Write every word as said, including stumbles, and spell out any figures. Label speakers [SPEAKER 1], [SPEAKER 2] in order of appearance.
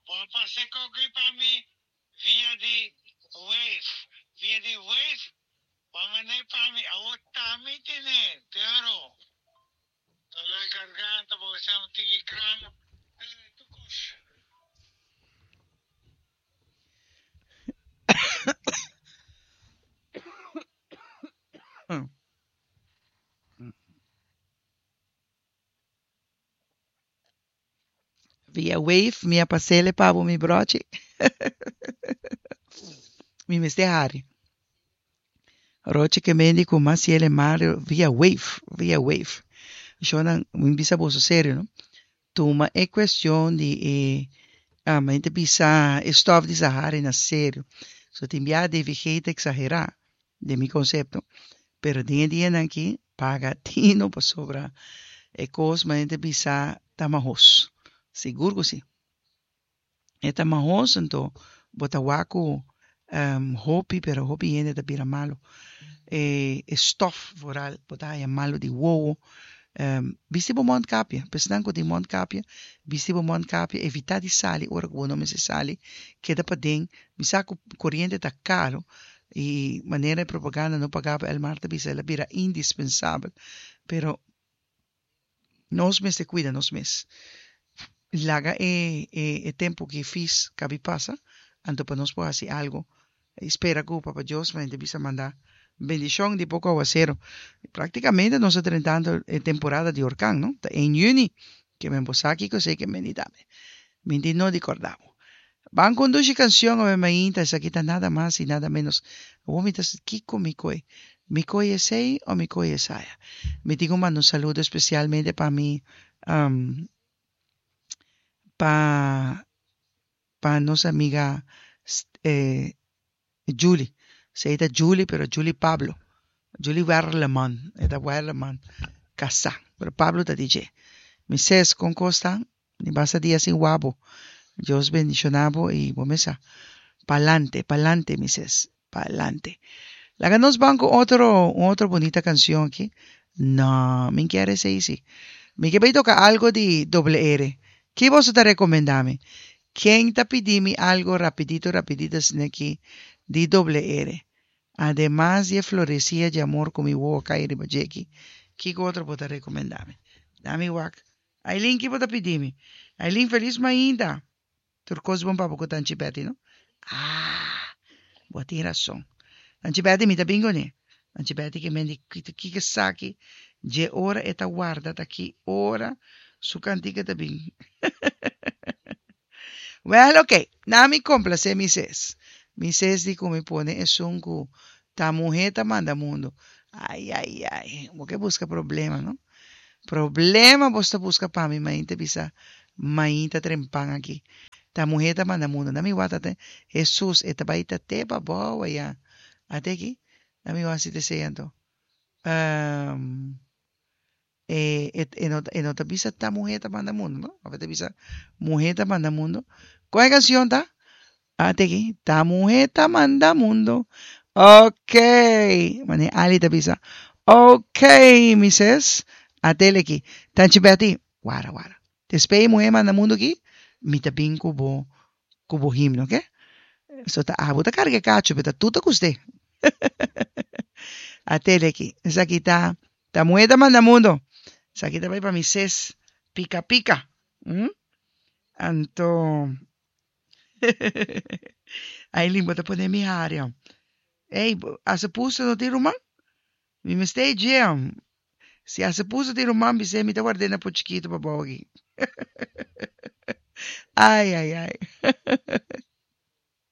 [SPEAKER 1] Bo a pasa e koki pa mi via di Waze. Via di Waze, bo a mand'é pa mi. Awor ta mi tene, pero dolor di garganta, bo sa un tiki kram, eh, tur kos.
[SPEAKER 2] Via Wave mi a pas'ele pa bo mi brochi. Mi mester hari. Rochi ke mendi ku mas yele Mario via Wave, via Wave. Shownan, mi bisa boso serio, no? Tuma e cuestion di e ah, mi ta bisa e stof di Sahara na serio. So tin bia D V G ta exagera den mi concepto, pero den e dianan aki paga tino pasobra e cos mi ta bisa ta mahos. Sigur cu si. E ta mahos, anto bo ta wak cu, ehm, hopi, pero hopi hende ta bira malo. E, e stof vooral, bo ta haya malo di wowo. Ehm, bisti bo mondkapje, pesnan cu tin mondkapje, bisti bo mondkapje, evita di sali ora cu bo no mester sali, keda paden, bisa cu corriente ta caro, y manera de propaganda no pagaba el Marta bisa, el a bira indispensabel, pero nos mester cuida nos mes. Laga e, e, e tempo que fis cabi pasa, anto pa nos por haci algo. Espera cu Papa Dios ma bisa manda bendición di poco aguacero. Prácticamente nos está entrando en temporada de huracán, ¿no? Ta en juni, que me embosaki, que sé que me dame. Me no di cordamo. Van con dushi canción, ave mainta, esa quita nada más y nada menos. Vomitas, Kiko, mi coi. Mi coi esei o mi coi esaya. Mi digo mando un saludo especialmente pa mi, um, pa, pa nos amiga, eh, Julie. Se ita Julie, pero Julie Pablo. Julie Werleman. Eta Werleman. Casa. Pero Pablo ta D J. Mi ses con costa, ni basta dia sin guapo. Dios bendicionabo y bomesa. Pa'lante, pa'lante, mi ses. Pa'lante. Laga nos banco otro, otro bonita canción aquí. No, mi quiere ser sí. Mi que toca algo de doble R. ¿Qué vos te recomendame? ¿Quién te pidimi algo rapidito, rapidito, sin aquí de doble R? Además de florecilla de amor con mi boca y ribajeki. ¿Qué otro vos te recomendame? Dame wak. Aileen, ¿qué vos te pidimi? Aileen, feliz mainda. Turcos bom papo con Tanchi Betty, no? Ah, vos tienes razón. Tanchi Betty, mi ta bingo ne. Tanchi Betty que mendi ki que saki. Je ora eta guarda ta ki ora su cantica ta bing. Well, okay. Na mi complace mi ses. Mi ses di come pone es un ku ta mujer ta manda mundo. Ay, ay, ay. Bo que busca problema, no? Problema vos ta busca pa mi, mainta bisa, mainta trempan aquí. Ta mujer ta manda mundo. Na mi wata te, Jesus, eta baita te pa boa ya. Ate aquí? Na mi wasi te seyando. Um, eh, et, e no, e no ta bisa ta mujer ta manda mundo, no? A te bisa mujer ta manda mundo. ¿Cuál canción ta? Ate aquí. Ta mujer ta manda mundo. Ok. Mane Ali ta bisa. Ok, mises. Atele aquí. Tanchi Betty. Guara, guara. Te spei mujer manda mundo aquí. Mi ta bin kubo, kubo himno, ok? So ta abo ta carga cacho, pero ta tuta custe. Atele aquí. Esa aquí ta, ta mujer ta manda mundo. Esa aquí ta vai pa mises. Pica, pica. ¿Mm? Anto. Aí limbo ta pone mi área. Ei, a se puso no tiro man? Mi me stay jam. Si a se puso tiro man, bise mi ta guardena po chiquito pa bogi. Ai, ai, ai.